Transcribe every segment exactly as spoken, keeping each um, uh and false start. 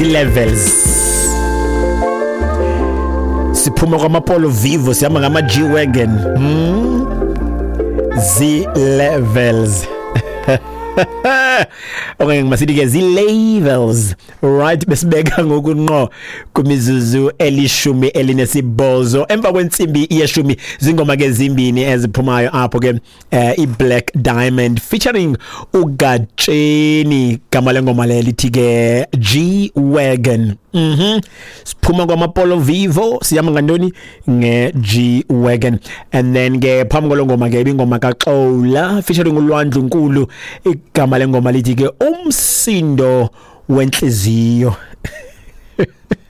Zii-levels. Siphuma kwamaPolo Vivo sihamba ngama G-Wagon. Hmm? Zii-levels. Okanye masithi ke zii-levels, right? Besibeka ngoku ngqo kwimizuzu elishumi elinesibhozo emva kwentsimbi yeshumi. Zingoma ke zimbini eziphumayo apho ke, eh, i-Black Diamond featuring uGatsheni, gama lengoma le lithi ke G-Wagon. mhm siphuma kwamaPolo Vivo sihamba ngantoni? Nge-G-Wagon. And then ke phambi kwalo ngoma ke ibingoma kaXola featuring uLwandle Nkulu, igama lengoma lithi ke Umsindo Wenhliziyo.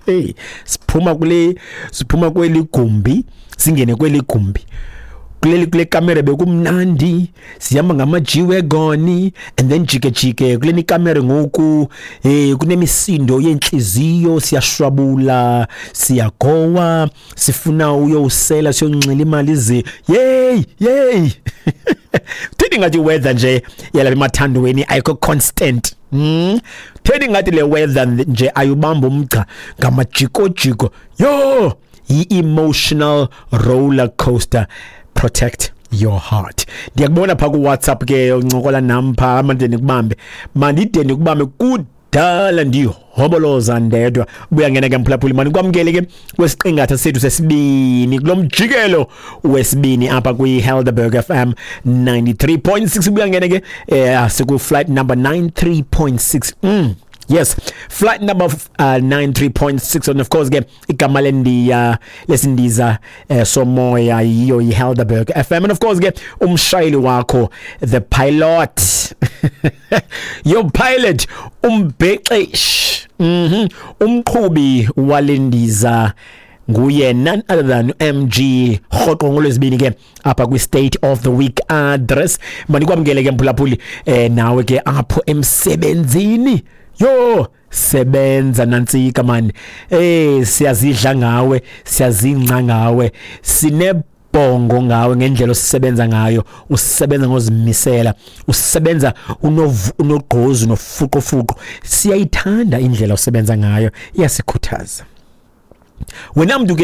Hey, siphuma kule siphuma kweli gumbi singene kweli gumbi, kuleli kule kamera bekumnandi, sihamba ngama G-Wagon, and then jike jike kuleni kamera ngoku, eh kunemisindo yenhliziyo, siyashwabula, siyagowa, sifuna uyosela, siyonxila imali ze. Yey yey, thini ngathi weather nje yalapha emathandweni ayikho constant mm Theni ngathi le weather nje ayubamba umgca ngamajikojiko yo, i-emotional roller coaster. Protect your heart. Ndiyakubona pha ku WhatsApp ke uncokola nam pha, manje nikubambe, mandide nikubambe kudala ndihoboloza ndedwa. Buya ngena ke mphulaphuli, mani kwamkele ke kwesiqingatha sethu sesibini kulo mjikelo wesibini apha kwi Helderberg F M ninety-three point six. Buya ngena ke, eh siku flight number ninety-three point six. mm. Yes, flight number uh, ninety-three point six, and of course ke igama lendiya lesindiza uh, somoya yiyo iHelderberg F M, and of course ke umshayeli wakho, the pilot, your pilot, umbhexeshi, mhm umqhubi walendiza nguye none other than M G, rhoqo ngolwezibini ke apha kwi State of the Week Address. Manikwamkele ke mphulaphuli, eh nawe ke apho emsebenzini, yo sebenza nantsika man, eh siyazidla ngawe, siyazingca ngawe, sinebhongo ngawe ngendlela osisebenza ngayo. Usebenza ngozimisela, usebenza unogqozi nofuqofuqo. Siyayithanda indlela osebenza ngayo, iyasikhuthaza wena mntu ke.